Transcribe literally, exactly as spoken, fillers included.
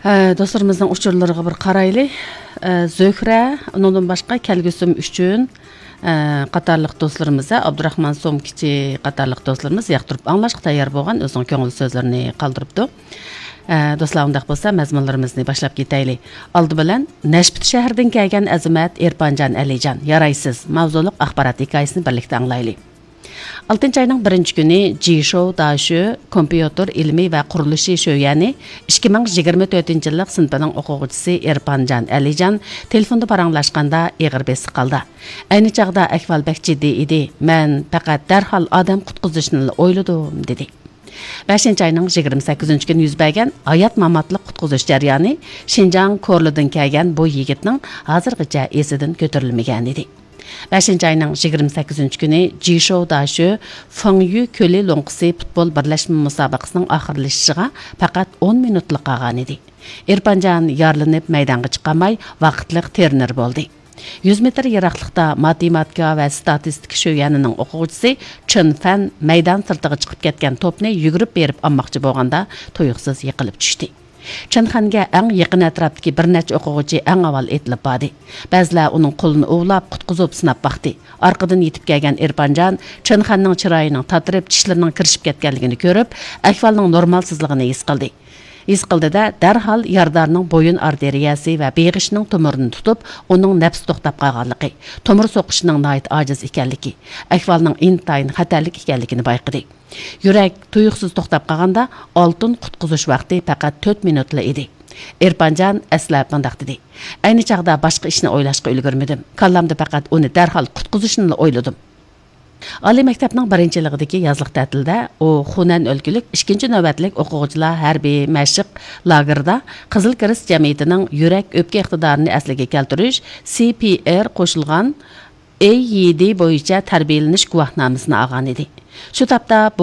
ئە، دوستلىرىمىزنىڭ ئۇچۇرلىرىغا بىر قارايلى. ئە، زۆھرە، ئۇنىڭدىن باشقا كەلگۈسىم ئۈچۈن، ئە، قاتارلىق دوستلىرىمىز، ئابدۇراخمان سومكىچى قاتارلىق دوستلىرىمىز ياقتۇرۇپ ئاڭلاشقا تەييار بولغان ئۆزىنىڭ كۆڭۈل سۆزلىرىنى قالدۇرۇپتۇ. ئە، دوستلار، ئۇنداق بولسا مەزمۇنلىرىمىزنى باشلاپ كېتەيلى. ئالدى بىلەن نەشپۈت شەھىرىدىن كەلگەن ئەزىمەت ئېرپانجان ئەلىجان، يارايسىز ماۋزۇلۇق ئاخبارات ھېكايىسىنى بىرلىكتە ئاڭلايلى. ئالتىنچى ئاينىڭ بىرىنچى كۈنى جىشوۋ داشۆ كومپيۇتېر ئىلمى ۋە قۇرۇلۇشى شۆيۈەنى ئىككى مىڭ يىگىرمە تۆتىنچى يىللىق سىنىپىنىڭ ئوقۇغۇچىسى ئېرپانجان ئەلىجان تېلېفوندا پاراڭلاشقاندا ئېغىر بېسىق ھالدا، «ئەينى چاغدا ئەھۋال بەك جىددىي ئىدى. مەن پەقەت دەرھال ئادەم قۇتقۇزۇشنىلا ئويلىدىم» دېدى. بەشىنچى ئاينىڭ يىگىرمە سەككىزىنچى كۈنى يۈز بەرگەن ھايات-ماماتلىق قۇتقۇزۇش جەريانى شىنجاڭ كورلىدىن كەلگەن بۇ يىگىتنىڭ ھازىرغىچە ئېسىدىن كۆتۈرۈلمىگەن ئىدى. بەشىنچى ئاينىڭ يىگىرمە سەككىزىنچى كۈنى جىشوۋ داشۆ فېڭيۈ كۆلى لوڭقىسى پۇتبول بىرلەشمە مۇسابىقىسىنىڭ ئاخىرلىشىشىغا پەقەت ئون مىنۇتلا قالغانىدى. ئېرپانجان يارىلىنىپ مەيدانغا چىقالماي، ۋاقىتلىق ترېنېر بولدى. يۈز مېتىر يىراقلىقتا ماتېماتىكا ۋە ستاتىستىكا شۆيۈەنىنىڭ ئوقۇغۇچىسى چېن فەن مەيدان سىرتىغا چىقىپ كەتكەن توپنى يۈگۈرۈپ بېرىپ ئالماقچى بولغاندا، تۇيۇقسىز يىقىلىپ چۈشتى. چېن خەنگە ئەڭ يېقىن ئەتراپتىكى بىر نەچچە ئوقۇغۇچى ئەڭ ئاۋۋال ئېتىلىپ باردى. بەزىلەر ئۇنىڭ قولىنى ئۇۋىلاپ، قۇتقۇزۇپ سىناپ باقتى. ئارقىدىن يېتىپ كەلگەن ئېرپانجان چېن خەننىڭ چىرايىنىڭ تاتىرىپ، چىشلىرىنىڭ كىرىشىپ كەتكەنلىكىنى كۆرۈپ، ئەھۋالنىڭ نورمالسىزلىقىنى ھېس قىلدى. ھېس قىلدى-دە، دەرھال يارىدارنىڭ بويۇن ئارتېرىيەسى ۋە بېغىشىنىڭ تومۇرىنى تۇتۇپ، ئۇنىڭ نەپسى توختاپ قالغانلىقى، تومۇر سوقۇشىنىڭ ناھايىتى ئاجىز ئىكەنلىكى، ئەھۋالنىڭ ئىنتايىن خەتەرلىك ئىكەنلىكىنى بايقىدى. يۈرەك تۇيۇقسىز توختاپ قالغاندا، ئالتۇن قۇتقۇزۇش ۋاقتى پەقەت تۆت مىنۇتلا ئىدى. ئېرپانجان ئەسلەپ مۇنداق دېدى: «ئەينى چاغدا باشقا ئىشنى ئويلاشقا ئۈلگۈرمىدىم. كاللامدا پەقەت ئۇنى دەرھال قۇتقۇزۇشنىلا ئويلىدىم.» ئالىي مەكتەپنىڭ بىرىنچى يىلىغىدىكى يازلىق تەتىلدە ئۇ خۇنەن ئۆلكىلىك ئىككىنچى نۆۋەتلىك ئوقۇغۇچىلار ھەربىي مەشىق لاگېرىدا قىزىل كىرېست جەمئىيىتىنىڭ يۈرەك ئۆپكە ئىقتىدارىنى ئەسلىگە كەلتۈرۈش، سى پى ئېر قوشۇلغان ئېي يى دى بويىچە تەربىيەلىنىش گۇۋاھنامىسىنى ئالغانىدى. شۇ تاپتا بۇ